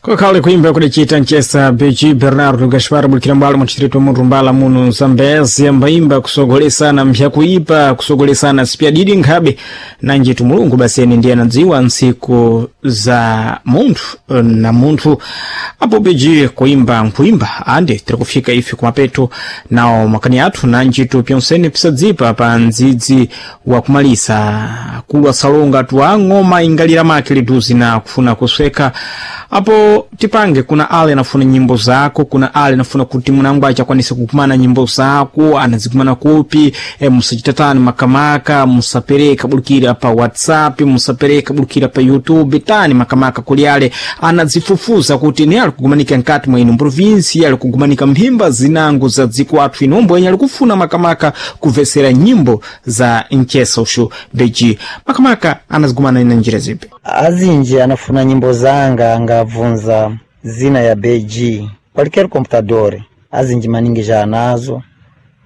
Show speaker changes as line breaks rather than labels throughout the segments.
Kukhale kuimba kudacita mchesa Beji Bernardo Gaspar bulikira mbwalo mu distrito Murumbala muno Zambezi, ambaimba kusogolesana mpyakuipa, kusogolesana sipyadidi nkhabe nanjitu Mulungu baseni ndiye anadziwa ntsiku za munthu na munthu. Apo Beji kuimba nkuimba ande tiri kufika ife kumapeto nawo makani athu, nanjitu pyonsene pisadzipa pa ndzidzi wa kumalisa kulwa salonga twa ng'oma ingalira make liduzi na kufuna kusweka. Apo tipange kuna ale anafuna nyimbo zako, kuna ale anafuna kuti munangu achakwanisa kukumana nyimbo zako, anazikumana kupi? Musachitatani makamaka, musapereka bulukira pa WhatsApp, musapereka bulukira pa YouTube, tani makamaka kuli ale anazifufuza kuti ne ali kugumanika nkati mwa ino provinsi, ali kugumanika mphimba zinango za dziko athu inombo yenye ali kufuna makamaka kumvesera nyimbo za mchesa ushu Beji, makamaka anazigumana ina njira zipi?
Azinji anafuna nyimbo zanga angabvunza zina ya BG qualquer computador, azinji maningi já anazo,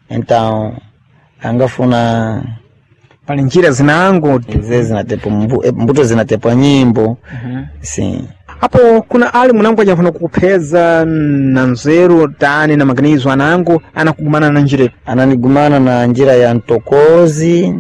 então angafuna.
Pali njira zinango.
Ze zinatepo mbuto zinatepa nyimbo. Sim.
Apo kuna ali munangu ajafuna kukupheza na nzeru tani na maganizo anangu, anakugumana na njira ipi?
Ananigumana na njira ya ntokozi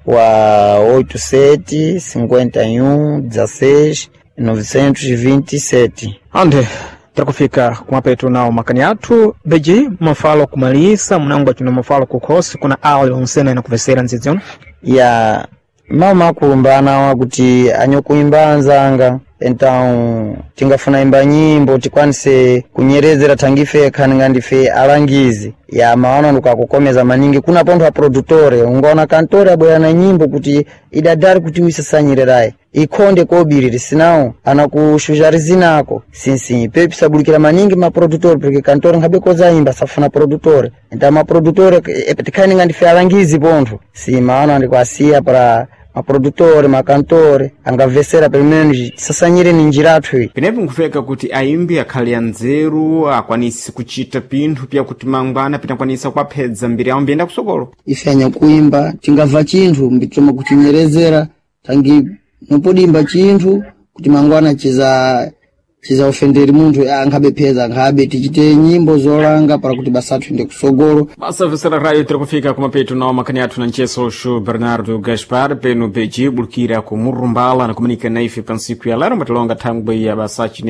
wa 87 51 16 927.
Ande takufika kumapeto nawo makani athu. Beji, mafalo kumalisa munangu achino mafalo kukhosi, kuna ali onsena inakuvesera ndzidzi ono.
Ya mawu makulumbana wakuti anyokuimba anzanga, então tingafuna imba nyimbo tikwanise kunyerezera tangife khaninga ndife alangizi ya mawana ndikakukomeza maningi. Kuna pontho a produtore ungaona kantore abwera na nyimbo kuti idadari kuti uisasanyirerayi ikhonde kobiriri sinawo anakushuja zinako sinsi pepisabulikira maningi maprodutor, porque kantore nkhabe kozaimba safuna produtore. Então maprodutor tikhaninga ndife alangizi pontho si mawana ndikuasiya para maprodutore, makantore angavesera pelo menos tisasanyire ni njira athu iyi.
Penepo nkufeka kuti aimbi akhale anzeru, akwanise kuchita pinthu pyakuti mangwana pinakwanisa kuwaphedza mbiri yawo mbiyenda kusokolo.
Ife anyakuimba tingabva chinthu mbitoma kuchinyerezera tangi nopodimba chinthu kuti mangwana chiza ofenderi munthu ankhabe pheza nkhabe tichite nyimbo zolanga para kuti basa athu ende kusogolo.
Basavesera rayo, tiri kufika kumapeto nawo makani athu na mcheso ushu Bernardo Gaspar peno Beji bulukira ku Murumbala, anakumanika na ife pa ntsiku ya lero mbatilonga thangwe ya basachi.